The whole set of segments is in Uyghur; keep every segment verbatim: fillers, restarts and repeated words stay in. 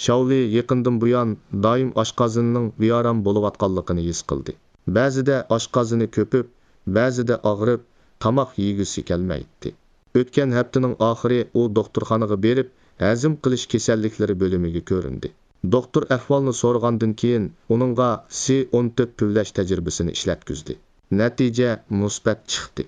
شاۋلى يېقىندىن بۇيان دائىم ئاشقازىنىنىڭ بىئارام بولۇۋاتقانلىقىنى ھېس قىلدى. بەزىدە ئاشقازىنى كۆپۈپ، بەزىدە ئاغرىپ، تاماق يېگۈسى كەلمەيتتى. ئۆتكەن ھەپتىنىڭ ئاخىرى ئۇ دوختۇرخانىغا بېرىپ، ھەزىم قىلىش كېسەللىكلىرى بۆلۈمىگە كۆرۈندى. دوختۇر ئەھۋالنى سورىغاندىن كېيىن، ئۇنىڭغا سى ئون تۆت پۈۋلەش تەجرىبىسىنى ئىشلەتكۈزدى. نەتىجە مۇسبەت چىقتى.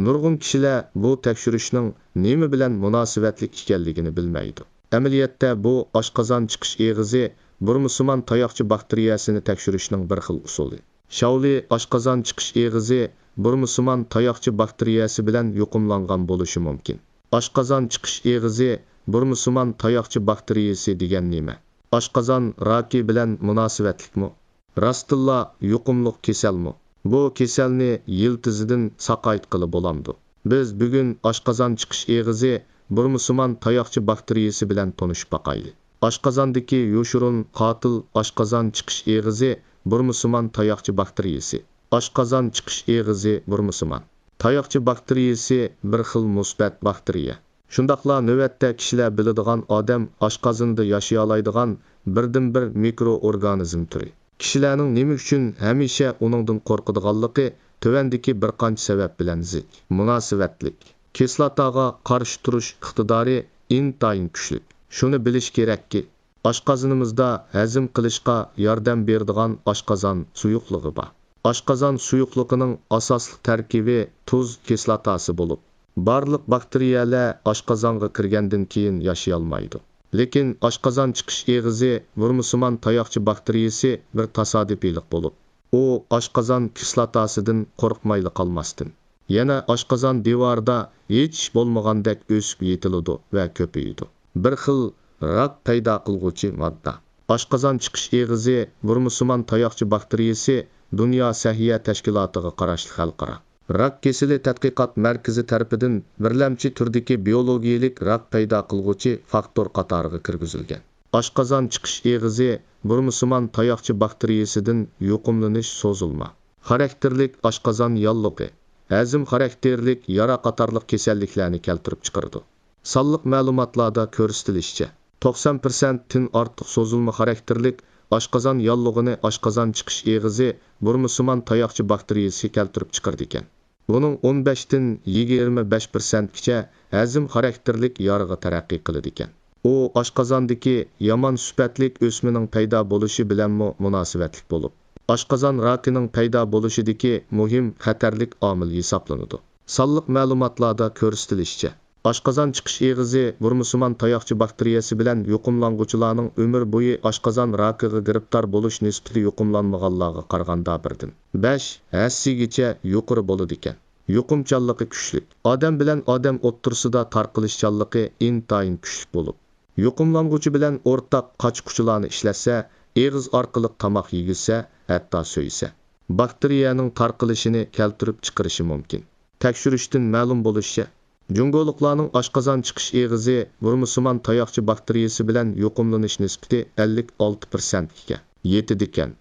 نۇرغۇن كىشىلەر بۇ تەكشۈرۈشنىڭ نېمە بىلەن مۇناسىۋەتلىك ئىكەنلىكىنى بىلمەيدۇ. ئەمەلىيەتتە، بۇ ئاشقازان چىقىش ئېغىزى بۇرمىسىمان تاياقچە باكتېرىيەسىنى تەكشۈرۈشنىڭ بىر خىل ئۇسۇلى. شاۋلى ئاشقازان چىقىش ئېغىزى بۇرمىسىمان تاياقچە باكتېرىيەسى بىلەن يۇقۇملانغان بولۇشى مۇمكىن. ئاشقازان چىقىش ئېغىزى بۇرمىسىمان تاياقچە باكتېرىيەسى دېگەن نېمە؟ ئاشقازان راكى بىلەن مۇناسىۋەتلىكمۇ؟ راستتىنلا يۇقۇملۇق كېسەلمۇ؟ بۇ كېسەلنى يىلتىزىدىن ساقايتقىلى بولامدۇ؟ بىز بۈگۈن ئاشقازان چىقىش ئېغىزى بۇرمىسىمان تاياقچە باكتېرىيەسى بىلەن تونۇشۇپ باقايلى. ئاشقازاندىكى يوشۇرۇن قاتىل ئاشقازان چىقىش ئېغىزى بۇرمىسىمان تاياقچە باكتېرىيەسى. ئاشقازان چىقىش ئېغىزى بۇرمىسىمان تاياقچە باكتېرىيەسى بىر خىل مۇسبەت باكتېرىيە. شۇنداقلا نۆۋەتتە كىشىلەر بىلىدىغان ئادەم ئاشقازىنىدا ياشىيالايدىغان بىردىنبىر مىكرو ئورگانىزم تۈرى. كىشىلەرنىڭ نېمە ئۈچۈن ھەمىشە ئۇنىڭدىن قورقىدىغانلىقى تۆۋەندىكى بىر قانچە سەۋەب بىلەن زىچ مۇناسىۋەتلىك. كىسلاتاغا قارشى تۇرۇش ئىقتىدارى ئىنتايىن كۈچلۈك. شۇنى بىلىش كېرەككى، ئاشقازىنىمىزدا ھەزىم قىلىشقا ياردەم بېرىدىغان ئاشقازان سۇيۇقلۇقى بار. ئاشقازان سۇيۇقلۇقىنىڭ ئاساسلىق تەركىبى تۇز كىسلاتاسى بولۇپ، بارلىق باكتېرىيەلەر ئاشقازانغا كىرگەندىن كېيىن ياشىيالمايدۇ. لېكىن ئاشقازان چىقىش ئېغىزى بۇرمىسىمان تاياقچە باكتېرىيەسى بىر تاسادىپىيلىق بولۇپ، ئۇ ئاشقازان كىسلاتاسىدىن قورقمايلا قالماستىن، يەنە ئاشقازان دىۋارىدا ھېچ ئىش بولمىغاندەك ئۆسۈپ يېتىلىدۇ ۋە كۆپىيىدۇ. بىر خىل راك پەيدا قىلغۇچى ماددا. ئاشقازان چىقىش ئېغىزى بۇرمىسىمان تاياقچە باكتېرىيەسى دۇنيا سەھىيە تەشكىلاتىغا قاراشلىق خەلقئارا راك كېسىلى تەتقىقات مەركىزى تەرىپىدىن بىرلەمچى تۈردىكى بىيولوگىيىلىك راك پەيدا قىلغۇچى فاكتور قاتارىغا كىرگۈزۈلگەن. ئاشقازان چىقىش ئېغىزى بۇرمىسىمان تاياقچە باكتېرىيەسىدىن يۇقۇملىنىش سوزۇلما خاراكتېرلىك ئاشقازان ياللۇغى، ھەزىم خاراكتېرلىك يارا قاتارلىق كېسەللىكلەرنى كەلتۈرۈپ چىقىرىدۇ. سانلىق مەلۇماتلاردا كۆرسىتىلىشىچە، توقسان پىرسەنتتىن ئارتۇق سوزۇلما خاراكتېرلىك ئاشقازان ياللۇغىنى ئاشقازان چىقىش ئېغىزى بۇرمىسىمان تاياقچە باكتېرىيەسى كەلتۈرۈپ چىقىرىدىكەن. بۇنىڭ ئون بەشتىن يىگىرمە بەش پىرسەنتكىچە ھەزىم خاراكتېرلىك يارىغا تەرەققىي قىلىدىكەن. ئۇ ئاشقازاندىكى يامان سۈپەتلىك ئۆسمىنىڭ پەيدا بولۇشى بىلەنمۇ مۇناسىۋەتلىك بولۇپ، ئاشقازان راكىنىڭ پەيدا بولۇشىدىكى مۇھىم خەتەرلىك ئامىل ھېسابلىنىدۇ. سانلىق مەلۇماتلاردا كۆرسىتىلىشىچە، ئاشقازان چىقىش ئېغىزى بۇرمىسىمان تاياقچە باكتېرىيەسى بىلەن يۇقۇملانغۇچىلارنىڭ ئۆمۈر بويى ئاشقازان راكىغا گىرىپتار بولۇش نىسبىتى يۇقۇملانمىغانلارغا قارىغاندا بىردىن بەش ھەسسىگىچە يۇقىرى بولىدىكەن. يۇقۇمچانلىقى كۈچلۈك. ئادەم بىلەن ئادەم ئوتتۇرىسىدا تارقىلىشچانلىقى ئىنتايىن كۈچلۈك بولۇپ، يۇقۇملانغۇچى بىلەن ئورتاق قاچا-قۇچىلارنى ئىشلەتسە، ئېغىز ئارقىلىق تاماق يېگۈزسە، ھەتتا سۆيسە، باكتېرىيەنىڭ تارقىلىشىنى كەلتۈرۈپ چىقىرىشى مۇمكىن. تەكشۈرۈشتىن مەلۇم بولۇشىچە، جۇڭگولۇقلارنىڭ ئاشقازان چىقىش ئېغىزى بۇرمىسىمان تاياقچە باكتېرىيەسى بىلەن يۇقۇملىنىش نىسبىتى ئەللىك ئالتە پىرسەنتكە يېتىدىكەن.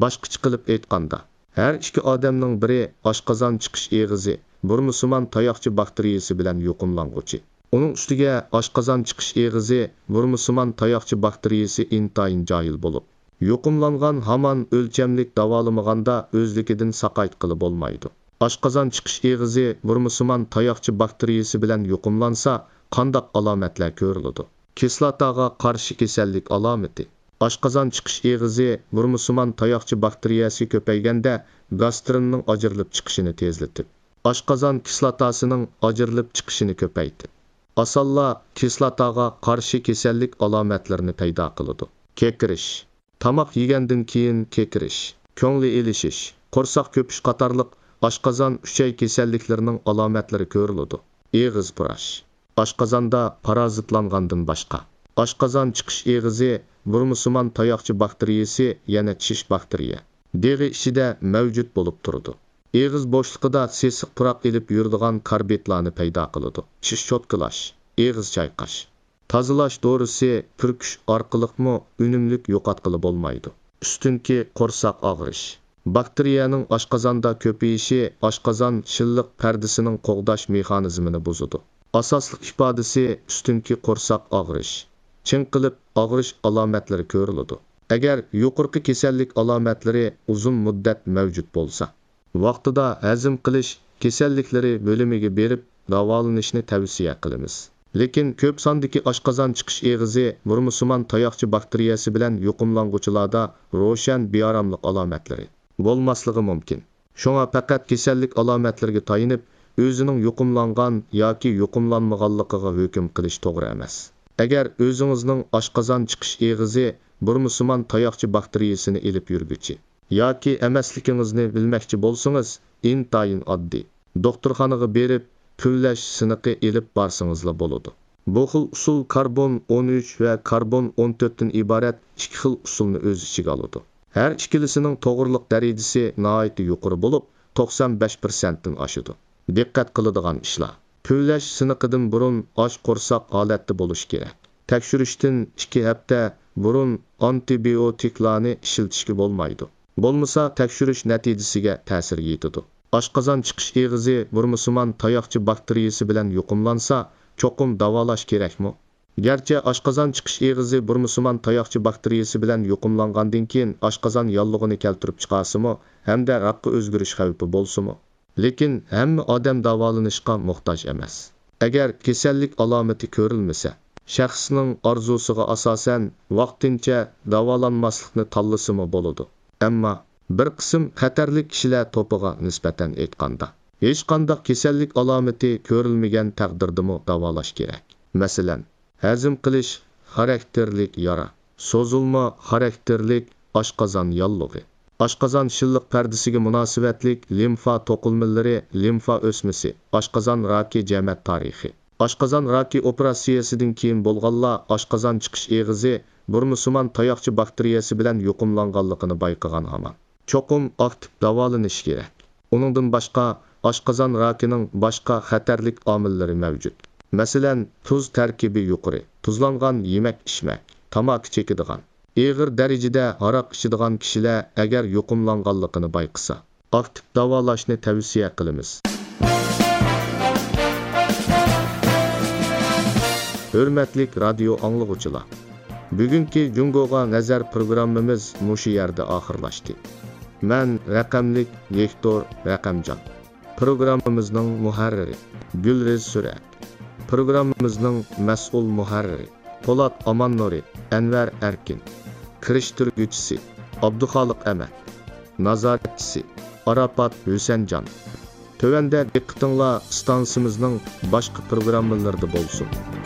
باشقىچە قىلىپ ئېيتقاندا، ھەر ئىككى ئادەمنىڭ بىرى ئاشقازان چىقىش ئېغىزى بۇرمىسىمان تاياقچە باكتېرىيەسى بىلەن يۇقۇملانغۇچى. ئۇنىڭ ئۈستىگە ئاشقازان چىقىش ئېغىزى بۇرمىسىمان تاياقچە باكتېرىيەسى ئىنتايىن جاھىل بولۇپ، يۇقۇملانغان ھامان ئۆلچەملىك داۋالىمىغاندا ئۆزلۈكىدىن ساقايتقىلى بولمايدۇ. ئاشقازان چىقىش ئېغىزى بۇرمىسىمان تاياقچە باكتېرىيەسى بىلەن يۇقۇملانسا، قانداق ئالامەتلەر كۆرۈلىدۇ؟ كىسلاتاغا قارشى كېسەللىك ئالامىتى. ئاشقازان چىقىش ئېغىزى بۇرمىسىمان تاياقچە باكتېرىيەسى كۆپەيگەندە، گاسترىننىڭ ئاجرىلىپ چىقىشىنى تېزلىتىپ، ئاشقازان كىسلاتاسىنىڭ ئاجرىلىپ چىقىشىنى كۆپەيتىپ، ئاسانلا كىسلاتاغا قارشى كېسەللىك ئالامەتلىرىنى پەيدا قىلىدۇ. كېكىرىش. تاماق يېگەندىن كېيىن كېكىرىش، كۆڭلى ئېلىشىش، قورساق كۆپۈش قاتارلىق ئاشقازان ئۈچەي كېسەللىكلىرىنىڭ ئالامەتلىرى كۆرۈلىدۇ. ئېغىز پۇراش. ئاشقازاندا پارازىتلانغاندىن باشقا، ئاشقازان چىقىش ئېغىزى بۇرمىسىمان تاياقچە باكتېرىيەسى يەنە چىش باكتېرىيە دېغى ئىچىدە مەۋجۇت بولۇپ تۇرىدۇ. ئېغىز بوشلۇقىدا سېسىق پۇراق ئېلىپ يۈرىدىغان كاربىدلارنى پەيدا قىلىدۇ. چىش چوتكىلاش، ئېغىز چايقاش، تازىلاش دورىسى پۈركۈش ئارقىلىقمۇ ئۈنۈملۈك يوقاتقىلى بولمايدۇ. ئۈستۈنكى قورساق ئاغرىش. باكتېرىيەنىڭ ئاشقازاندا كۆپىيىشى ئاشقازان شىللىق پەردىسىنىڭ قوغداش مېخانىزمىنى بۇزىدۇ. ئاساسلىق ئىپادىسى ئۈستۈنكى قورساق ئاغرىش، چىڭقىلىپ ئاغرىش ئالامەتلىرى كۆرۈلىدۇ. ئەگەر يۇقىرىقى كېسەللىك ئالامەتلىرى ئۇزۇن مۇددەت مەۋجۇت بولسا، ۋاقتىدا ھەزىم قىلىش كېسەللىكلىرى بۆلۈمىگە بېرىپ داۋالىنىشنى تەۋسىيە قىلىمىز. لېكىن كۆپ ساندىكى ئاشقازان چىقىش ئېغىزى بۇرمىسىمان تاياقچە باكتېرىيەسى بىلەن يۇقۇملانغۇچىلاردا روشەن بىئاراملىق ئالامەتلىرى بولماسلىقى مۇمكىن. شۇڭا پەقەت كېسەللىك ئالامەتلىرىگە تايىنىپ، ئۆزىنىڭ يۇقۇملانغان ياكى يۇقۇملانمىغانلىقىغا ھۆكۈم قىلىش توغرا ئەمەس. ئەگەر ئۆزىڭىزنىڭ ئاشقازان چىقىش ئېغىزى بۇرمىسىمان تاياقچە باكتېرىيەسىنى ئېلىپ يۈرگۈچى ياكى ئەمەسلىكىڭىزنى بىلمەكچى بولسىڭىز، ئىنتايىن ئاددىي. دوختۇرخانىغا بېرىپ، پۈۋلەش سىنىقى ئېلىپ بارسىڭىزلا بولىدۇ. بۇ خىل ئۇسۇل كاربون ئون ئۈچ ۋە كاربون ئون تۆتتىن ئىبارەت ئىككى خىل ئۇسۇلنى ئۆز ئىچىگە ئالىدۇ. ھەر ئىككىلىسىنىڭ توغرىلىق دەرىجىسى ناھايىتى يۇقىرى بولۇپ، توقسان بەش پىرسەنتتىن ئاشىدۇ. دىققەت قىلىدىغان ئىشلار. پۈۋلەش سىنىقىدىن بۇرۇن ئاچ قورساق ھالەتتە بولۇش كېرەك. تەكشۈرۈشتىن ئىككى ھەپتە بۇرۇن ئانتىبىيوتىكلارنى ئىشلىتىشكە بولمايدۇ. بولمىسا تەكشۈرۈش نەتىجىسىگە تەسىر يېتىدۇ. ئاشقازان چىقىش ئېغىزى بۇرمىسىمان تاياقچە باكتېرىيەسى بىلەن يۇقۇملانسا، چوقۇم داۋالاش كېرەكمۇ؟ گەرچە ئاشقازان چىقىش ئېغىزى بۇرمىسىمان تاياقچە باكتېرىيەسى بىلەن يۇقۇملانغاندىن كېيىن ئاشقازان ياللۇغىنى كەلتۈرۈپ چىقارسىمۇ ھەمدە راكقا ئۆزگىرىش خەۋپى بولسىمۇ، لېكىن ھەممە ئادەم داۋالىنىشقا موھتاج ئەمەس. ئەگەر كېسەللىك ئالامىتى كۆرۈلمىسە، شەخسنىڭ ئارزۇسىغا ئاساسەن ۋاقتىنچە داۋالانماسلىقنى تاللىسىمۇ بولىدۇ. ئەمما بىر قىسىم خەتەرلىك كىشىلەر توپىغا نىسبەتەن ئېيتقاندا، ھېچقانداق كېسەللىك ئالامىتى كۆرۈلمىگەن تەقدىردىمۇ داۋالاش كېرەك. مەسىلەن، ھەزىم قىلىش خاراكتېرلىك يارا، سوزۇلما خاراكتېرلىك ئاشقازان ياللۇغى، ئاشقازان شىللىق پەردىسىگە مۇناسىۋەتلىك لىمفا توقۇلمىلىرى، لىمفا ئۆسمىسى، ئاشقازان راكى جەمەت تارىخى. ئاشقازان راكى ئوپېراتسىيەسىدىن كېيىن بولغانلار ئاشقازان چىقىش ئېغىزى بۇرمىسىمان تاياقچە باكتېرىيەسى بىلەن يۇقۇملانغانلىقىنى بايقىغان ھامان. چوقۇم ئاكتىپ داۋالىنىش كېرەك. ئۇنىڭدىن باشقا، ئاشقازان راكىنىڭ باشقا خەتەرلىك ئامىللىرى مەۋجۇت. مەسىلەن، تۇز تەركىبى يۇقىرى، تۇزلانغان يېمەك ئىچمەك، تاماكا چېكىدىغان، ئېغىر دەرىجىدە ھاراق ئىچىدىغان كىشىلەر ئەگەر يۇقۇملانغانلىقىنى بايقىسا، ئاكتىپ داۋالاشنى تەۋسىيە قىلىمىز. ھۆرمەتلىك رادىيو ئاڭلىغۇچىلار، بۈگۈنكى جۇڭگوغا نەزەر پروگراممىمىز مۇشۇ يەردە ئاخىرلاشتى. مەن رەقەملىك ۋىكتور رەقەمجان. پروگراممىمىزنىڭ مۇھەررىرى گۈلرىز سۈرەت. پروگراممىمىزنىڭ مەسئۇل مۇھەررىرى پولات ئاماننۇرى، ئەنۋەر ئەركىن. كىرىشتۈرگۈچىسى ئابدۇخالىق ئەمەت. نازارەتچىسى ئاراپات ھۈسەنجان. تۆۋەندە دىققىتىڭلار ئىستانسىمىزنىڭ باشقا پروگراممىلىرىدا بولسۇن.